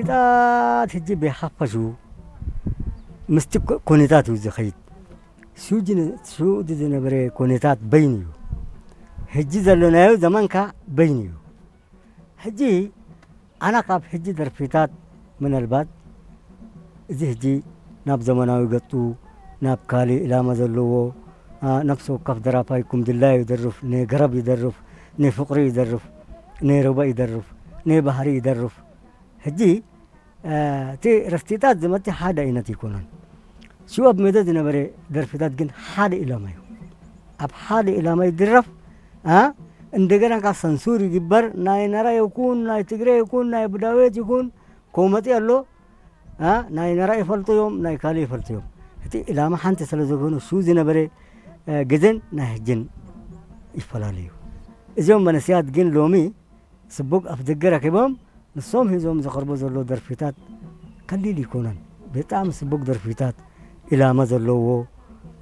ደርፍታት ሕጂ ብሓፈሽኡ ምስቲ ኩ-፣ ኩነታት እዩ ዝኸይድ። ሽዑ ዝነ-፣ ሽዑ ዝነበረ ኩነታት በይኑ እዩ። ሕጂ ዘለናዮ ዘመን ከኣ በይኑ እዩ። ሕጂ ኣነ ካብ ሕጂ ደርፊታት ምናልባት እዚ ሕጂ ናብ ዘመናዊ ገጹ፣ ናብ ካልእ ዕላማ ዘለዎ፣ ኣ፣ ነፍሲ ወከፍ ደራፋይ ኩም ድላዩ ይደርፍ፣ ናይ ገረብ ይደርፍ፣ ናይ ፍቕሪ ይደርፍ፣ ናይ ሩባ ይደርፍ፣ ናይ ባህሪ ይደርፍ። ሕጂ፣ እ፣ እቲ ረስቲታት ዝመጽእ ሓደ ዓይነት ኣይኮነን። ሽዑ ኣብ ሜዳ ዝነበረ ደርፍታት ግን ሓደ ዕላማ እዩ። ኣብ ሓደ ዕላማ ይድረፍ፣ ኣ፣ እንደገና ካብ ሰንሱር ይግበር፣ ናይ ነራ ይኩን፣ ናይ ትግረ ይኩን፣ ናይ ቡዳቤት ይኩን፣ ኮመጺ ኣሎ፣ ኣ፣ ናይ ነራ ይፈልጡ እዮም፣ ናይ ካልእ ይፈልጡ እዮም። እቲ ዕላማ ሓንቲ ስለ ዝኾነ ሽዑ ዝነበረ፣ እ፣ ግዜን ናይ ሕጅን ይፈላለዩ። እዚኦም መንእሰያት ግን ሎሚ ስቡግ ኣፍ ደገ ረኪቦም ንሶም ሒዞም ዘቕርቡ ዘሎ ደርፊታት ቀሊል ይኮነን። ብጣዕሚ ስቡግ ደርፊታት፣ ዕላማ ዘለዎ፣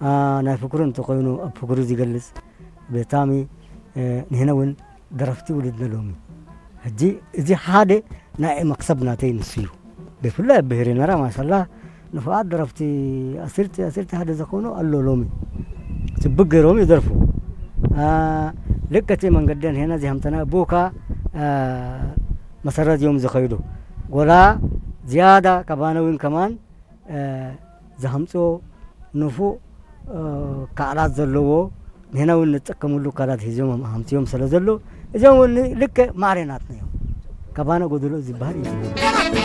ኣ፣ ናይ ፍቅሪ እንተኾይኑ ኣብ ፍቅሪ ዝገልጽ፣ ብጣዕሚ፣ እ፣ ንሕና እውን ደረፍቲ ውልድና ሎሚ። ሕጂ እዚ ሓደ ናይ መክሰብ ናተይ ንሱ እዩ። ብፍላይ ኣብ ብሄረ ነራ ማሻላ ንፉዓት ደረፍቲ ዓሰርተ፣ ዓሰርተ ሓደ ዝኾኑ ኣሎ ሎሚ። ጽቡቅ ገይሮም ይደርፉ። ኣ፣ ልክዕ እቲ መንገደን ሄና ዚሃምተና ብኡ ከኣ፣ ኣ፣ መሰረት እዮም ዝኸይዱ። ጎላ ዝያዳ ካባና እውን ከማን፣ እ፣ ዝሃምጽዎ ንፉዕ፣ እ፣ ካላት ዘለዎ ንሕና እውን ንጥቀመሉ ካላት ሒዞም ሃምጽዮም ስለ ዘሎ እዚኦም እውን ልክዕ ማዕረ ናትና እዮም። ካባና ጎደሎ ዝበሃል እዩ።